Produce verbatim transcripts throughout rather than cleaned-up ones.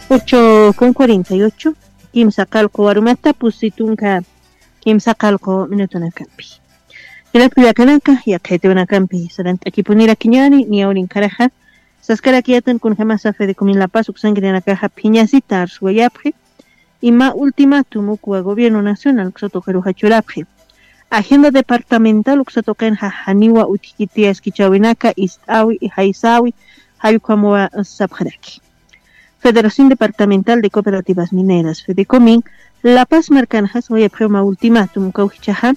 Ocho con cuarenta y ocho. Kimsa qalqu warumata pusi tunka kimsa qalqu minutunakampi. Jilat kullakanaka, yaqhaytiwanakampi sarant'akipunirakiñäni, niyawrinkaraxa saskarakiyätan kunjamasa Fedecomin La Paz uksankirinakaxa phiñasita arsuwayapxi, ima ultimátum ukwa gobierno nacional uksa tuqiruxa churapxi. Agenda departamental uksa tuqinxa janiwa utjkiti askichäwinaka ist'äwi, jaysäwi, jallk'amawa sapxaraki. Federación Departamental de Cooperativas Mineras, Fedecomin, La Paz markanxa sawayapxiw mä ultimátum ukaw jichhaxa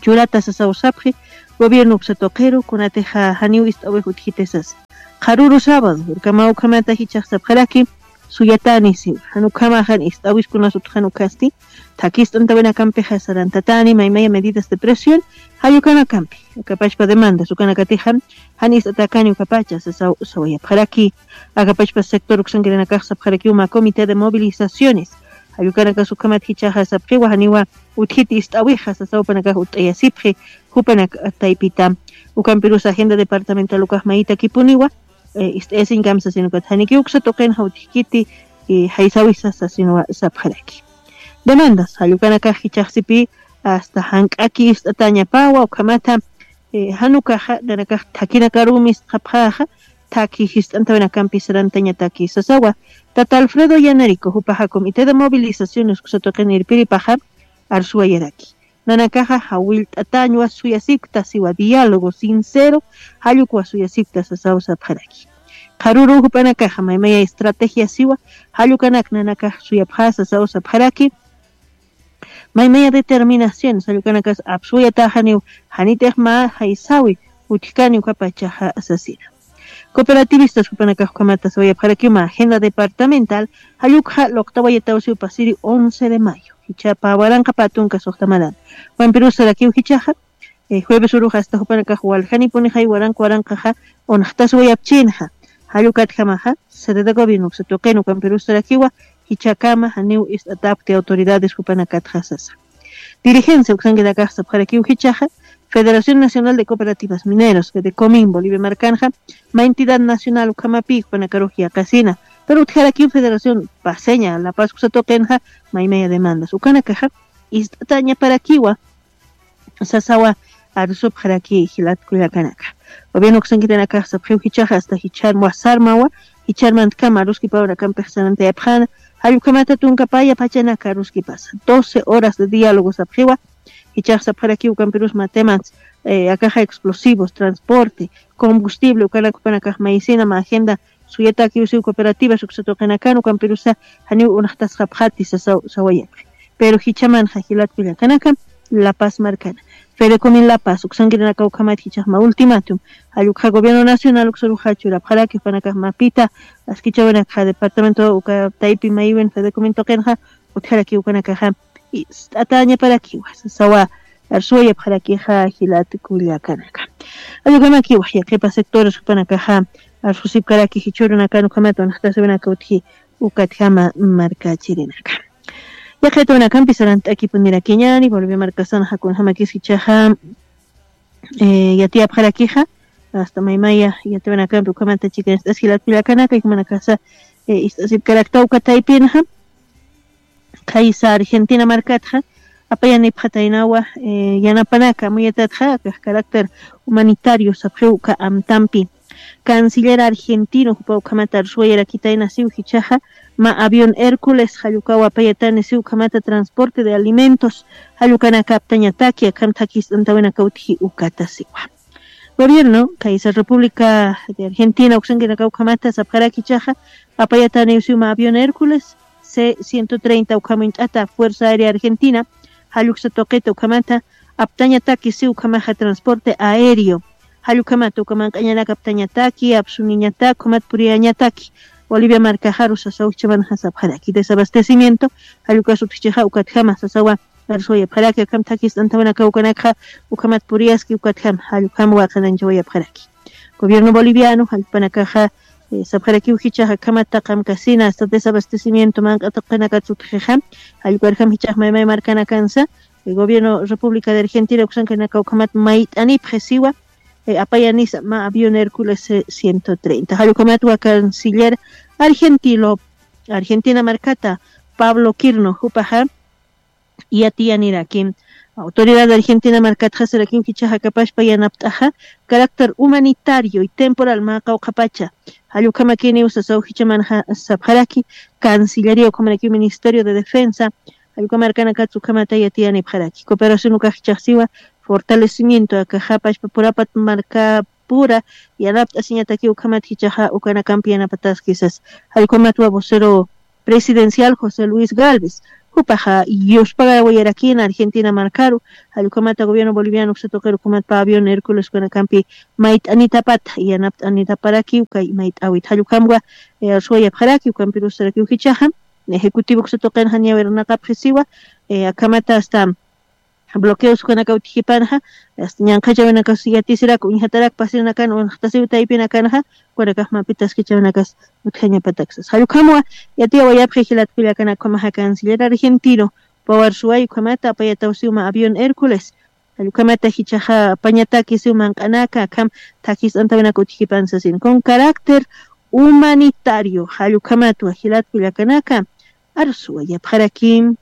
churata sasaw sapxi, gobierno uksa tuqiru kunatixa janiw ist'äwix utjkiti sasa. Qharüru sábado urkamaw ukhamata jichhax sapxaraki, suyatani siwa, jan ukhamaxa ist'äwiskunas utjan ukasti, thakist'antawinakampixa sarantatani maymaya medidas de presión jall ukanakampi, akapachpa demandas ukanakatixa jan ist'atäkani ukapacha sasaw sawayapxaraki. Akapachpa sector uksankirinakax sapxarakiw mä comité de movilizaciones jall ukanakas ukhamat jichhaxa sapxiwa janiwa utjkiti ist'äwixa sasaw jupanakax utt'ayasipxi, jupanak taypita. Ukampirus agenda departamental ukax mayitakipuniwa ist'ayasiñkam sasin ukat, janikiw uksa tuqinxa utjkiti jaysäwisa sasinwa sapxaraki. Demandas jall ukanakax jichhaxsipï hasta jank'aki ist'atäñapawa ukhamata, jan ukaxa nanakax thakinakarux ist'apxäxa, thaki jist'antawinakampi sarantañataki sasawa. Tata Alfredo Yanerico, jupaxa comité de movilizaciones uksa tuqin irpiripaxa arsuwayaraki, nanakaxa jawillt'atäñwa, suyasipkta siwa, diálogo sincero jall ukwa suyasipkta sasaw sapxaraki. Qharüru jupanakaxa maymaya estrategia siwa jall ukanak nanakax suyapxä sasaw sapxaraki. Maymaya determinaciones jall ukanakas apsuwayatäxaniw, janitix mä jaysäwi utjkani ukapachaxa sasina. Cooperativistas jupanakax ukhamata sawayapxarakiw mä agenda departamental jall ukxa luqtawayatawsiw pasiri once de mayo, jichha pä waranqa pä tunka suxta marana. Ukampirus sarakiw jichhaxa jueves urux hasta jupanakax waljanipunixa waranqa waranqaxa unxtaswayapchinxa, jall ukatjamaxa sede de gobierno uksa tuqin ukampirus sarakiwa, jichhakama janiw ist'atäpkti autoridades jupanakatxa sasa. Dirigencia uksankirinakax sapxarakiw jichhaxa, Federación Nacional de Cooperativas Mineros, Fedecomin, Bolivia markanxa mä entidad nacional ukhamapï jupanakarux yaqasina, pero utjarakiw Federación Paceña La Paz uksa tuqinxa maymaya demandas ukanakaxa ist'atäñaparakiwa sasawa arsupxaraki jilat kullakanaka. Gobierno uksankirinakax sapxiw jichhaxa hasta jichhar wasarmawa, jichhar mantkama aruskipäwinakampix sarantayapxäna, jall ukhamata tunka paya pachanaka aruskipasa, doce horas de diálogo sapxiwa. Jichhax sapxarakiw ukampirus mä temas, akaxa explosivos, transporte, combustible ukanak jupanakax mayisina mä agenda suyatakiw siw cooperativas uksa tuqinakan, ukampirusa janiw unxtasxapxati sasaw sawayapxi. Pero jichhamanxa jilat kullakanaka, La Paz markana, Fedecomin La Paz uksankirinakaw ukhamat jichhax mä ultimátum jall ukxa gobierno nacional uksaruxa churapxaraki jupanakax mapita askichäwinakxa departamento uka taypi mayiwin Fedecomin tuqinxa utjarakiw ukanakaxa ist'atäñaparakiwa sasawa arsuwayapxarakixa jilat kullakanaka. Jall ukhamakiwa yaqhipa sectores jupanakaxa arsusipkaraki jichhürunakan ukhamat unxtasïwinaka utji ukatjama markachirinaka. Yaqhaytiwanakampi sarant'akipunirakiñäni, Bolivia markasanxa kunjamakis jichhaxa yatiyapxarakixa hasta maymaya yatiwanakampi ukhamata chikanist'as jilat kullakanaka, jumanakasa ist'asipkarakta uka taypinxa. Khaysa Argentina markatxa apayanipxataynawa yanapanaka amuyatatxa akax carácter humanitario sapxiw uka amtampi. Canciller argentino jupa ukhamata arsuwayarakitayna siw jichhaxa, mä avión Hércules jall ukaw apayatani siw ukhamata transporte de alimentos, jall ukanaka aptañataki akham thakist'antawinaka utji ukata siwa. Gobierno khaysa República de Argentina uksankirinakaw ukhamata sapxaraki jichhaxa, apayataniw siw mä avión Hércules C ciento treinta ukham uñt'ata Fuerza Aérea Argentina, jall uksa tuqita ukhamata aptañataki siw ukhamaxa transporte aéreo, jall ukhamata uka manq'añanak aptañataki, apsuniñatak ukhamat puriyañataki. Bolivia markaxaru sasaw jichhamanxa sapxaraki desabastecimiento, jall ukas utjchixa ukatjama sasawa arsuwayapxaraki akham thakist'antawinakaw ukanakxa ukhamat puriyaski ukatjama jall ukham waqanañchawayapxaraki. Gobierno boliviano jall jupanakaxa sapxarakiw jichhax akhamat taqi amkasina hasta desabastecimiento manq'a tuqinakat utjixa, jall ukarjam jichhax maymay markanakansa gobierno República de Argentina uksankirinakaw ukhamat mayt'anipxi siwa, apayanisa mä avión Hércules C ciento treinta, jall ukhamat uka canciller argentino Argentina markata Pablo Kirno jupaxa yatiyaniraki. Autoridad Argentina markatxa sarakiw jichaxa kapashpa yanapt'axa carácter humanitario y temporal mä qawqhapacha jallukhamakiniw sasaw jichamanxa sapxaraki. Cancillería ukhamarakiw ministerio de defensa jallukhamarkanakatsa ukhamata yatiyanipxaraki cooperación ukax jichaxsiwa fortalecimiento akaxapashpa purapat markapura yanapt'asiñataki ukhamat jichaxa ukanakampi yanapataskisas. Jallukhamatwa vocero presidencial José Luis Galvez jupaxa yuspagawayarakina Argentina markaru. Jallukhamata gobierno boliviano uksatuqiru ukhamatpa avión Hércules ukanakampi mayt'anitapata yanapt'anitaparakiw kay mayt'awit jallukhamwa. Suwayapxarakiw ukampirusarakiw jichaxa ejecutivo uksatuqinxa ñawirinaqapxisiwa. Akhamata hasta bloqueos ukanakaw utjipanxa ñanqhachawinakas yatisiraku uñjatarak pasirinakan uñjtasiw taypinakanxa ukanakax mapitaskichawinakas utjañapataksas jallukhamwa. Yatiyawayapxi jilatkullakanakamaxa canciller argentino pawar suway ukhamata apayatawsiwma avión hércules jallukhamata jichaxa apañatakisiw manq'anaka akham thakis'antawinaka utjipan sasin con carácter humanitario jallukhamatwa jilatkullakanaka. Arsuwayapxarakim.